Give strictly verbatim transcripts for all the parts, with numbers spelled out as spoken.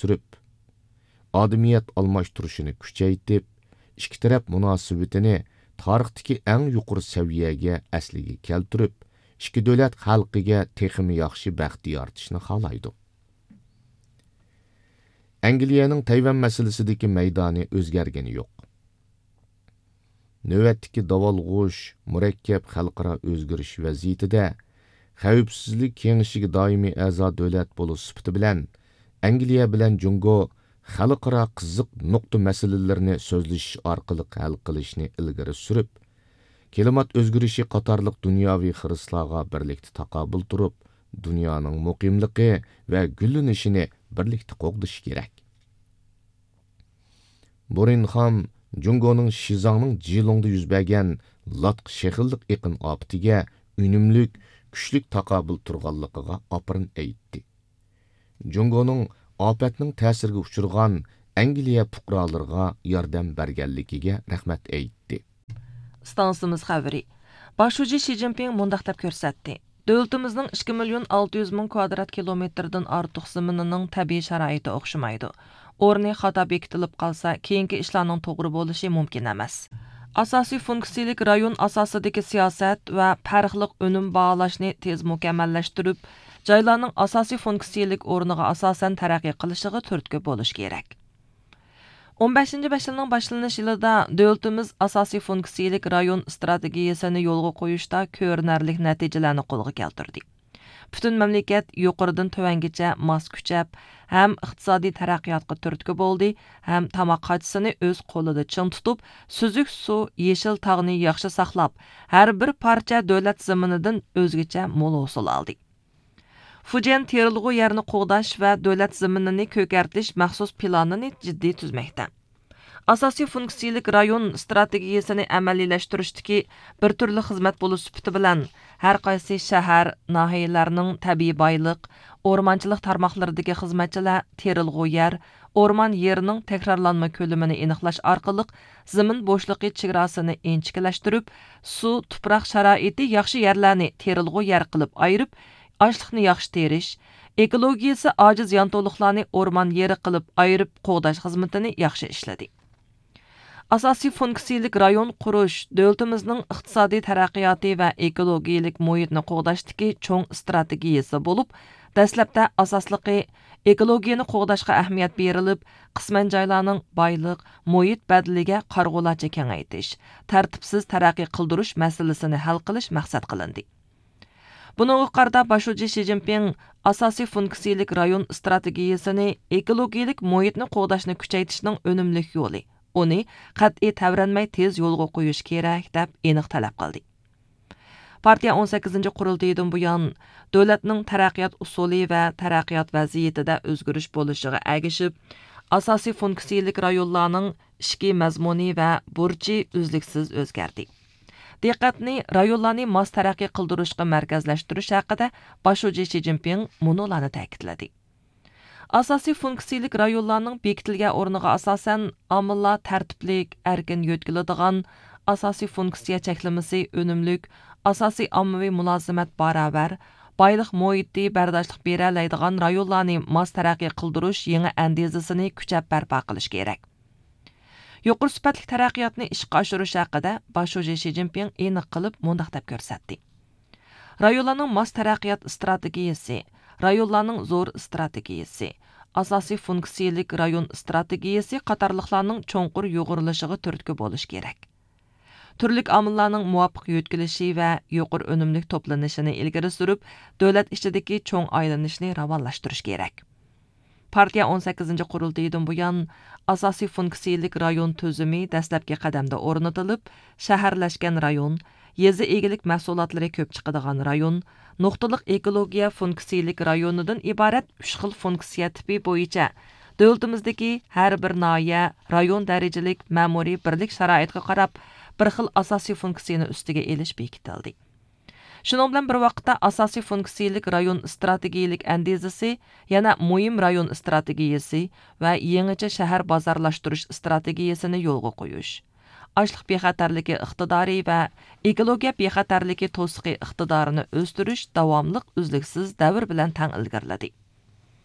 سۈرۈپ، ئادىمىيەت ئالماشتۇرۇشىنى كۈچەيتىپ، ئىككى تەرەپ مۇناسىۋىتىنى تارىختىكى ئەڭ يۇقىرى سەۋىيەگە ئەسلىگە كەلتۈرۈپ، ئىككى دۆلەت خەلقىگە تېخىمۇ ياخشى بەخت يارىتىشنى خالايدۇ. ئەنگلىيەنىڭ تەيۋەن مەسىلىسىدىكى مەيدانى ئۆزگەرگىنى يوق. نۆۋەتتىكى داۋالغۇش، مۇرەككەپ خەلقئارا ئۆزگىرىش ۋەزىيىتىدە خەۋپسىزلىك كېڭىشىگە دائىمىي ئەزا دۆلەت بولۇش سۈپىتى بىلەن، ئەنگلىيە بىلەن جۇڭگو خەلقئارا قىزىق نۇقتا مەسىلىلىرىنى سۆزلىشىش ئارقىلىق ھەل قىلىشنى ئىلگىرى سۈرۈپ، كىلىمات ئۆزگىرىشى قاتارلىق دۇنياۋى خىرىسلارغا بىرلىكتە تاقابىل تۇرۇپ، دۇنيانىڭ مۇقىملىقى ۋە گۈللىنىشىنى بىرلىكتە قوغدىشى كېرەك. بۇرىنخام جۇڭگونىڭ شىزاڭنىڭ جىلۇڭدا يۈز بەرگەن لاتقا شېخىللىق ئېقىن ئاپىتىگە ئۈنۈملۈك، كۈچلۈك تاقابىل تۇرغانلىقىغا ئاپىرىن ئېيتتى. جۇڭگونىڭ ئاپەتنىڭ تەسىرىگە ئۇچرىغان ئەنگلىيە پۇقرالىرىغا ياردەم بەرگەنلىكىگە رەھمەت ئېيتتى. ئىستانسىمىز خەۋىرى. باش شۇجى شى جىنپىڭ مۇنداق دەپ كۆرسەتتى: دۆلىتىمىزنىڭ ئىككى مىليون ئالتە يۈز مىڭ كۋادرات كىلومېتىردىن ئارتۇق زېمىنىنىڭ تەبىئىي شارائىتى ئوخشىمايدۇ. ئورنى خاتا بېكىتىلىپ قالسا، كېيىنكى ئىشلارنىڭ توغرا بولۇشى مۇمكىن ئەمەس. ئاساسىي فۇنكسىيىلىك رايون ئاساسىدىكى سىياسەت ۋە پەرقلىق ئۈنۈم باھالاشنى تېز مۇكەممەللەشتۈرۈپ، جايلارنىڭ ئاساسىي فۇنكسىيىلىك ئورنىغا ئاساسەن تەرەققىي قىلىشىغا تۈرتكە بولۇش كېرەك. ئون بەشىنچى بەش يىلنىڭ باشلىنىش يىلىدا دۆلىتىمىز ئاساسىي فۇنكسىيىلىك رايون ئىستراتېگىيىسىنى يولغا قويۇشتا كۆرۈنەرلىك نەتىجىلەرنى قولغا كەلتۈردى. پۈتۈن مەملىكەت يۇقىرىدىن تۆۋەنگىچە ماس كۈچەپ، ھەم ئىقتىسادىي تەرەققىياتقا تۈرتكە بولدى، ھەم تاماق قاچىسىنى ئۆز قولىدا چىڭ تۇتۇپ، سۈزۈك سۇ، يېشىل تاغنى ياخشى ساقلاپ، ھەر بىر پارچە دۆلەت زېمىنىدىن ئۆزگىچە مول ھوسۇل ئالدى. فۇجيەن تېرىلغۇ يەرنى قوغداش ۋە دۆلەت زېمىنىنى كۆكەرتىش مەخسۇس پىلانىنى جىددىي تۈزمەكتە. ئاساسىي فۇنكسىيىلىك رايون ئىستراتېگىيىسىنى ئەمەلىيلەشتۈرۈشتىكى بىر تۈرلۈك خىزمەت بولۇش سۈپىتى بىلەن، ھەر قايسى شەھەر، ناھىيەلەرنىڭ تەبىئىي بايلىق، ئورمانچىلىق تارماقلىرىدىكى خىزمەتچىلەر تېرىلغۇ يەر، ئورمان يېرىنىڭ تەكرارلانما كۆلىمىنى ئېنىقلاش ئارقىلىق زېمىن بوشلۇقى چېگراسىنى ئىنچىكىلەشتۈرۈپ، سۇ، تۇپراق شارائىتى ياخشى يەرلەرنى تېرىلغۇ يەر قىلىپ ئايرىپ، ئاشلىقنى ياخشى تېرىش، ئېكولوگىيىسى ئاجىز يانتۇلۇقلارنى ئورمان يېرى قىلىپ ئايرىپ قوغداش خىزمىتىنى ياخشى ئىشلىدى. ئاساسىي فۇنكسىيىلىك رايون قۇرۇش دۆلىتىمىزنىڭ ئىقتىسادىي تەرەققىياتى ۋە ئېكولوگىيىلىك مۇھىتنى قوغداشتىكى چوڭ ئىستراتېگىيىسى بولۇپ، دەسلەپتە ئاساسلىقى ئېكولوگىيەنى قوغداشقا ئەھمىيەت بېرىلىپ، قىسمەن جايلارنىڭ بايلىق، مۇھىت بەدىلىگە قارىغۇلارچە كېڭەيتىش، تەرتىپسىز تەرەققىي قىلدۇرۇش مەسىلىسىنى ھەل قىلىش مەقسەت قىلىندى. بۇنىڭغا قارىتا باش شۇجى شى جىنپىڭ ئاساسىي فۇنكسىيىلىك رايون ئىستراتېگىيىسىنى ئېكولوگىيىلىك مۇھىتنى قوغداشنى كۈچەيتىشنىڭ ئۈنۈملۈك يولى، ئۇنى قەتئىي تەۋرەنمەي تېز يولغا قويۇش كېرەك، دەپ ئېنىق تەلەپ قىلدى. پارتىيە ئون سەككىزىنچى قۇرۇلتىيىدىن بۇيان، دۆلەتنىڭ تەرەققىيات ئۇسۇلى ۋە تەرەققىيات ۋەزىيىتىدە ئۆزگىرىش بولۇشىغا ئەگىشىپ، ئاساسىي فۇنكسىيىلىك رايونلارنىڭ ئىچكى مەزمۇنى ۋە بۇرچى ئۈزلۈكسىز ئۆزگەردى. دىققەتنى رايونلارنى ماس تەرەققىي قىلدۇرۇشقا مەركەزلەشتۈرۈش ھەققىدە باش شۇجى شى جىنپىڭ مۇنۇلارنى تەكىتلىدى. ئاساسىي فۇنكسىيىلىك رايونلارنىڭ بېكىتىلگەن ئورنىغا ئاساسەن، ئامىللار تەرتىپلىك، ئەركىن يۆتكىلىدىغان، ئاساسىي فۇنكسىيە چەكلىمىسى ئۈنۈملۈك، ئاساسىي ئاممىۋى مۇلازىمەت باراۋەر، بايلىق مۇھىتى بەرداشلىق بېرەلەيدىغان رايونلارنى ماس تەرەققىي قىلدۇرۇش يېڭى ئەندىزىسىنى كۈچەپ بەرپا قىلىش كېرەك. يۇقىرى سۈپەتلىك تەرەققىياتنى ئىشقا ئاشۇرۇش ھەققىدە باش شۇجى شى جىنپىڭ ئېنىق قىلىپ مۇنداق دەپ كۆرسەتتى: رايونلارنىڭ ماس تەرەققىيات ئىستراتېگىيىسى، رايونلارنىڭ زور ئىستراتېگىيىسى، ئاساسىي فۇنكسىيىلىك رايون ئىستراتېگىيىسى قاتارلىقلارنىڭ چوڭقۇر يۇغۇرۇلۇشىغا تۈرتكە بولۇش كېرەك. تۈرلۈك ئامىللارنىڭ مۇۋاپىق يۆتكىلىشى ۋە يۇقىرى ئۈنۈملۈك توپلىنىشىنى ئىلگىرى سۈرۈپ، دۆلەت ئىچىدىكى چوڭ ئايلىنىشنى راۋانلاشتۇرۇش كېرەك. پارتىيە ئون سەككىزىنچى قۇرۇلتىيىدىن بۇيان، ئاساسىي فۇنكسىيىلىك رايون تۈزۈمى دەسلەپكى قەدەمدە ئورنىتىلىپ، شەھەرلەشكەن رايون، يېزا ئىگىلىك مەھسۇلاتلىرى كۆپ چىقىدىغان رايون، نۇقتىلىق ئېكولوگىيە فۇنكسىيىلىك رايونىدىن ئىبارەت ئۈچ خىل فۇنكسىيە تىپى بويىچە دۆلىتىمىزدىكى ھەر بىر ناھىيە، رايون دەرىجىلىك مەمۇرىي بىرلىك شارائىتقا قاراپ، بىر خىل ئاساسىي فۇنكسىيىنى ئۈستىگە ئېلىش بېكىتىلدى. شۇنىڭ بىلەن بىر ۋاقىتتا، ئاساسىي فۇنكسىيىلىك رايون ئىستراتېگىيىلىك ئەندىزىسى يەنە مۇھىم رايون ئىستراتېگىيىسى ۋە يېڭىچە شەھەر بازارلاشتۇرۇش ئىستراتېگىيىسىنى يولغا قويۇش، ئاشلىق بىخەتەرلىكى ئىقتىدارى ۋە ئېكولوگىيە بىخەتەرلىكى توسۇقى ئىقتىدارىنى ئۆستۈرۈش داۋاملىق ئۈزلۈكسىز دەۋر بىلەن تەڭ ئىلگىرىلىدى.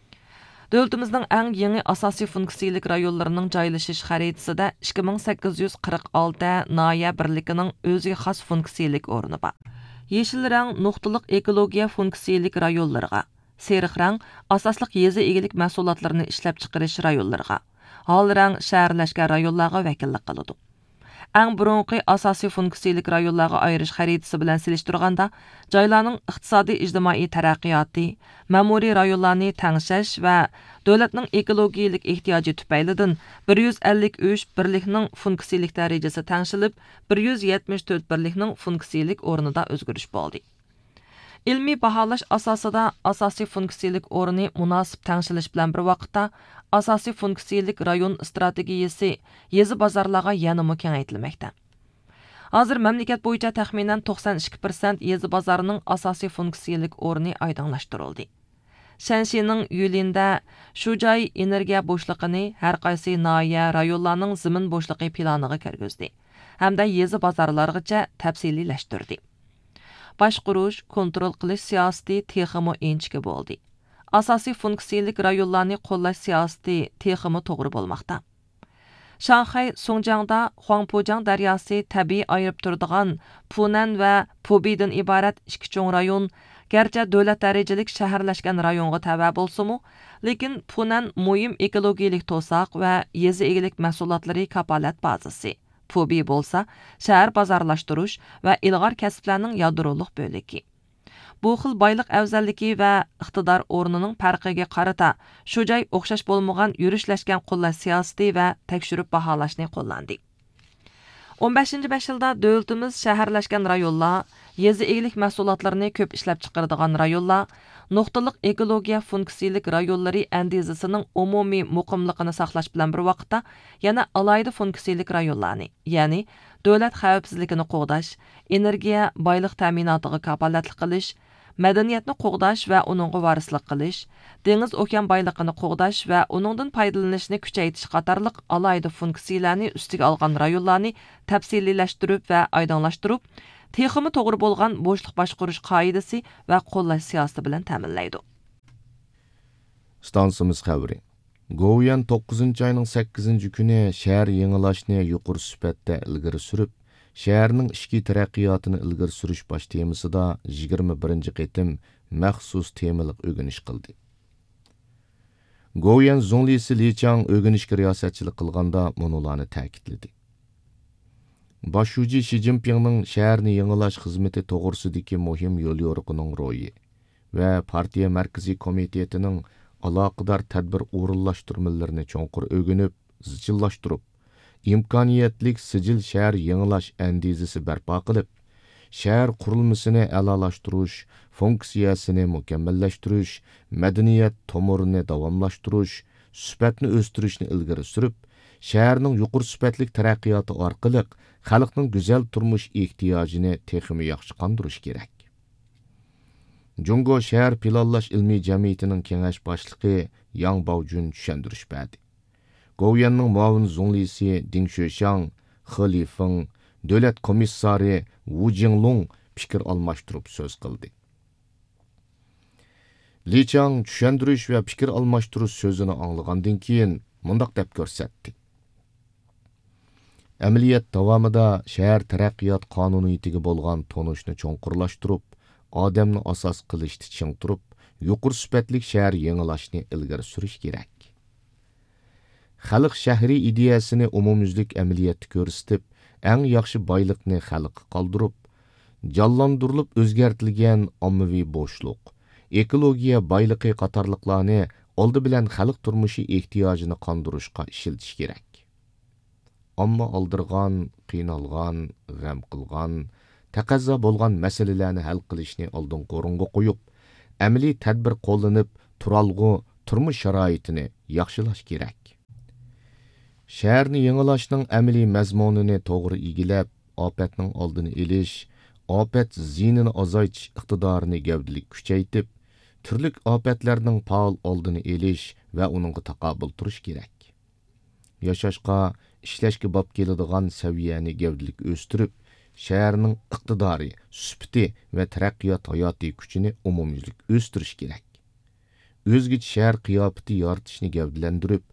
دۆلىتىمىزنىڭ ئەڭ يېڭى ئاساسىي فۇنكسىيىلىك رايونلىرىنىڭ جايلىشىش خەرىتىسىدە ئىككى مىڭ سەككىز يۈز قىرىق ئالتە ناھىيە بىرلىكىنىڭ ئۆزىگە خاس فۇنكسىيىلىك ئورنى بار. يېشىل رەڭ نۇقتىلىق ئېكولوگىيە فۇنكسىيىلىك رايونلىرىغا، سېرىق رەڭ ئاساسلىق يېزا ئىگىلىك مەھسۇلاتلىرىنى ئىشلەپچىقىرىش رايونلىرىغا، ھال رەڭ شەھەرلەشكەن رايونلارغا ۋەكىللىك قىلىدۇ. ئەڭ بۇرۇنقى ئاساسىي فۇنكسىيىلىك رايونلارغا ئايرىش خەرىتىسى بىلەن سېلىشتۇرغاندا، جايلارنىڭ ئىقتىسادىي ئىجتىمائىي تەرەققىياتى، مەمۇرىي رايونلارنى تەڭشەش ۋە دۆلەتنىڭ ئېكولوگىيىلىك ئېھتىياجى تۈپەيلىدىن بىر يۈز ئەللىك ئۈچ بىرلىكنىڭ فۇنكسىيىلىك دەرىجىسى تەڭشىلىپ، بىر يۈز يەتمىش تۆت بىرلىكنىڭ فۇنكسىيىلىك ئورنىدا ئۆزگىرىش بولدى. ئىلمىي باھالاش ئاساسىدا ئاساسىي فۇنكسىيىلىك ئورنى مۇناسىپ تەڭشىلىش بىلەن بىر ۋاقىتتا، ئاساسىي فۇنكسىيىلىك رايون ئىستراتېگىيىسى يېزا بازارلارغا يەنىمۇ كېڭەيتىلمەكتە. ھازىر مەملىكەت بويىچە تەخمىنەن توقسان ئىككى پىرسەنت يېزا بازارنىڭ ئاساسىي فۇنكسىيىلىك ئورنى ئايدىڭلاشتۇرۇلدى. شەنشىنىڭ يۈليىندە شۇجاي ئېنېرگىيە بوشلۇقىنى ھەر قايسى ناھىيە، رايونلارنىڭ زېمىن بوشلۇقى پىلانىغا كىرگۈزدى ھەمدە يېزا بازارلارغىچە تەپسىلىيلەشتۈردى. باشقۇرۇش، كونترول قىلىش سىياسىتى تېخىمۇ ئىنچىكە بولدى. ئاساسىي فۇنكسىيىلىك رايونلارنى قوللاش سىياسىتى تېخىمۇ توغرا بولماقتا. شاڭخەي سۇڭجياڭدا خۇاڭپۇجياڭ دەرياسى تەبىئىي ئايرىپ تۇرىدىغان پۇنەن ۋە پۇبىدىن ئىبارەت ئىككى چوڭ رايون، گەرچە دۆلەت دەرىجىلىك شەھەرلەشكەن رايونغا تەۋە بولسىمۇ، لېكىن پۇنەن مۇھىم ئېكولوگىيىلىك توساق ۋە يېزا ئىگىلىك مەھسۇلاتلىرى كاپالەت بازىسى، پۇبى بولسا شەھەر بازارلاشتۇرۇش ۋە ئىلغار كەسىپلەرنىڭ يادرولۇق بۆلىكى. بۇ خىل بايلىق ئەۋزەللىكى ۋە ئىقتىدار ئورنىنىڭ پەرقىگە قارىتا، شۇ جاي ئوخشاش بولمىغان يۈرۈشلەشكەن قوللاش سىياسىتى ۋە تەكشۈرۈپ باھالاشنى قوللاندى. ئون بەشىنچى بەش يىلدا دۆلىتىمىز شەھەرلەشكەن رايونلار، يېزا ئىگىلىك مەھسۇلاتلىرىنى كۆپ ئىشلەپچىقىرىدىغان رايونلار، نۇقتىلىق ئېكولوگىيە فۇنكسىيىلىك رايونلىرى ئەندىزىسىنىڭ ئومۇمىي مۇقىملىقىنى ساقلاش بىلەن بىر ۋاقىتتا، يەنە ئالاھىدە فۇنكسىيىلىك رايونلارنى، يەنى دۆلەت خەۋپسىزلىكىنى قوغداش، ئېنېرگىيە، بايلىق تەمىناتىغا كاپالەتلىك قىلىش، مەدەنىيەتنى قوغداش ۋە ئۇنىڭغا ۋارىسلىق قىلىش، دېڭىز ئوكيان بايلىقىنى قوغداش ۋە ئۇنىڭدىن پايدىلىنىشنى كۈچەيتىش قاتارلىق ئالاھىدە فۇنكسىيىلەرنى ئۈستىگە ئالغان رايونلارنى تەپسىلىيلەشتۈرۈپ ۋە ئايدىڭلاشتۇرۇپ، تېخىمۇ توغرا بولغان بوشلۇق باشقۇرۇش قائىدىسى ۋە قوللاش سىياسىتى بىلەن تەمىنلەيدۇ. ئىستانسىمىز خەۋىرى. گوۋۇيۈەن توققۇزىنچى ئاينىڭ سەككىزىنچى كۈنى شەھەر يېڭىلاش نى يۇقىرى سۈپەتتە ئىلگىرى سۈرۈپ، شەھەرنىڭ ئىچكى تەرەققىياتىنى ئىلگىرى سۈرۈش باش تېمىسىدا يىگىرمە بىرىنچى قېتىم مەخسۇس تېمىلىق ئۆگىنىش قىلدى. گوۋۇيۈەن زۇڭلىسى لى چاڭ ئۆگىنىشكە رىياسەتچىلىك قىلغاندا مۇنۇلارنى تەكىتلىدى. باش شۇجى شى جىنپىڭنىڭ شەھەرنى يېڭىلاش خىزمىتى توغرىسىدىكى مۇھىم يوليورۇقىنىڭ روھى ۋە پارتىيە مەركىزىي كومىتېتىنىڭ ئالاقىدار تەدبىر ئورۇنلاشتۇرمىلىرىنى چوڭقۇر ئۆگىنىپ، زىچىللاشتۇرۇپ، ئىمكانىيەتلىك سىجىل شەھەر يېڭىلاش ئەندىزىسى بەرپا قىلىپ، شەھەر قۇرۇلمىسىنى ئەلالاشتۇرۇش، فۇنكسىيەسىنى مۇكەممەللەشتۈرۈش، مەدەنىيەت تومۇرىنى داۋاملاشتۇرۇش، سۈپەتنى ئۆستۈرۈشنى ئىلگىرى سۈرۈپ، شەھەرنىڭ يۇقىرى سۈپەتلىك تەرەققىياتى ئارقىلىق خەلقنىڭ گۈزەل تۇرمۇش ئېھتىياجىنى تېخىمۇ ياخشى قاندۇرۇش كېرەك. جۇڭگو شەھەر پىلانلاش ئىلمىي جەمئىيىتىنىڭ كېڭەش باشلىقى ياڭ باۋجۈن چۈشەندۈرۈش بەردى. گوۋۇيۈەننىڭ مۇئاۋىن زۇڭلىسى دىڭ شۆشياڭ، خې لىفېڭ، دۆلەت كومىسسارى ۋۇ جىڭلۇڭ پىكىر ئالماشتۇرۇپ سۆز قىلدى. لى چاڭ چۈشەندۈرۈش ۋە پىكىر ئالماشتۇرۇش سۆزىنى ئاڭلىغاندىن كېيىن مۇنداق دەپ كۆرسەتتى. ئەمەلىيەت داۋامىدا شەھەر تەرەققىيات قانۇنىيىتىگە بولغان تونۇشنى چوڭقۇرلاشتۇرۇپ، ئادەمنى ئاساس قىلىشتا چىڭ تۇرۇپ، يۇقىرى سۈپەتلىك شەھەر يېڭىلاشنى ئىلگىرى سۈرۈش كېرەك. خەلق شەھىرى ئىدىيەسىنى ئومۇميۈزلۈك ئەمەلىيەتتە كۆرسىتىپ، ئەڭ ياخشى بايلىقنى خەلققە قالدۇرۇپ، جانلاندۇرۇلۇپ ئۆزگەرتىلگەن ئاممىۋى بوشلۇق، ئېكولوگىيە بايلىقى قاتارلىقلارنى ئالدى بىلەن خەلق تۇرمۇشى ئېھتىياجىنى قاندۇرۇشقا ئىشلىتىش كېرەك. ئامما ئالدىرىغان، قىينالغان، غەم قىلغان، تەقەززا بولغان مەسىلىلەرنى ھەل قىلىشنى ئالدىنقى ئورۇنغا قويۇپ، ئەمەلىي تەدبىر قوللىنىپ، تۇرالغۇ، تۇرمۇش شارائىتىنى ياخشىلاش كېرەك. شەھەرنى يېڭىلاشنىڭ ئەمەلىي مەزمۇنىنى توغرا ئىگىلەپ، ئاپەتنىڭ ئالدىنى ئېلىش، ئاپەت زىيىنىنى ئازايتىش ئىقتىدارىنى گەۋدىلىك كۈچەيتىپ، تۈرلۈك ئاپەتلەرنىڭ پائال ئالدىنى ئېلىش ۋە ئۇنىڭغا تاقابىل تۇرۇش كېرەك. ياشاشقا، ئىشلەشكە باب كېلىدىغان سەۋىيەنى گەۋدىلىك ئۆستۈرۈپ، شەھەرنىڭ ئىقتىدارى، سۈپىتى ۋە تەرەققىيات ھاياتىي كۈچىنى ئومۇميۈزلۈك ئۆستۈرۈش كېرەك. ئۆزگىچە شەھەر قىياپىتى يارىتىشنى گەۋدىلەندۈرۈپ،